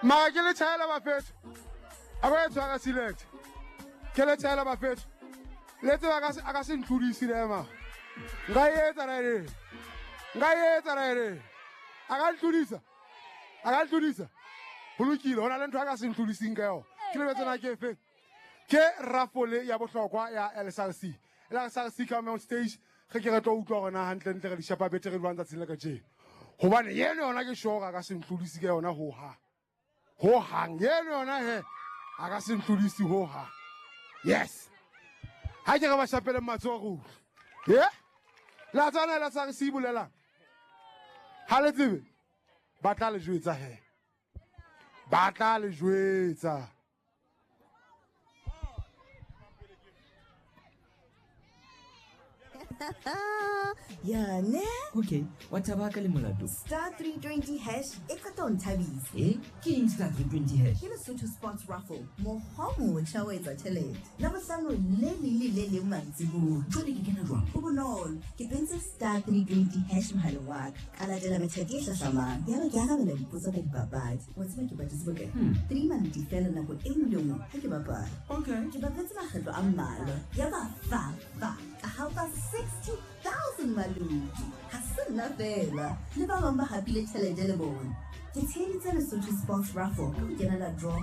Mara ke le tjhaela bafetho. A ba e tshwara select. Ke le tjhaela bafetho. Le tseba a ka se ntlodise le ema. Nka e etsa ra ere. Nka e etsa ra ere. A ka ntlodisa. A ka ntlodisa. Ho lokile, ho na le ntho a ka se ntlodiseng ka yona. Ke lebetse na ke efeng. Ke rafole ya bohlokwa ya LSRC. LSRC come on stage ge ke re tlo utlwa gore na gantlentle re di shapa betere jwang tsatsing la kajeno. Gobane eno yona ke sure a ka se ntlodise ka yona hohang. Hohang eno yona he a ka se ntlodise hohang. Yes. Ha ke re ba shapele matsoho re utlwe. Ye? La tsana la sa re se bolelang. Ha le tsebe ba tla le jwetsa he. Ba tla le jwetsa. Ya ne? Okay, wa thaba ka le molato. Star 320 hash e qeta ho nthabisa. Eh, ke eng star 320 hash? Ke Lesotho Sports Raffle, mokgwa o motjha wa etsa tjhelete. Labohlano le leng le le leng mantsibuya. Jwale ke kena jwang? Ho bonolo, ke pentse star 320 hash mohaleng wa ka. Ka latela methati e hlahlamang. Yaba ke arabela dipotso ka dipapadi. Wa tseba ke patetse bokae? 3 maloti fela nako e nngwe le nngwe ha ke bapala. Okay. Ke bapetse makgetlo a mmalwa. Yaba fa fa ka hapa 60,000 maloti. Ha se nna fela. Le ba bang ba hapile tjhelete le bona. Ke tsheheditse Lesotho Sports Raffle ka ho kenela draw.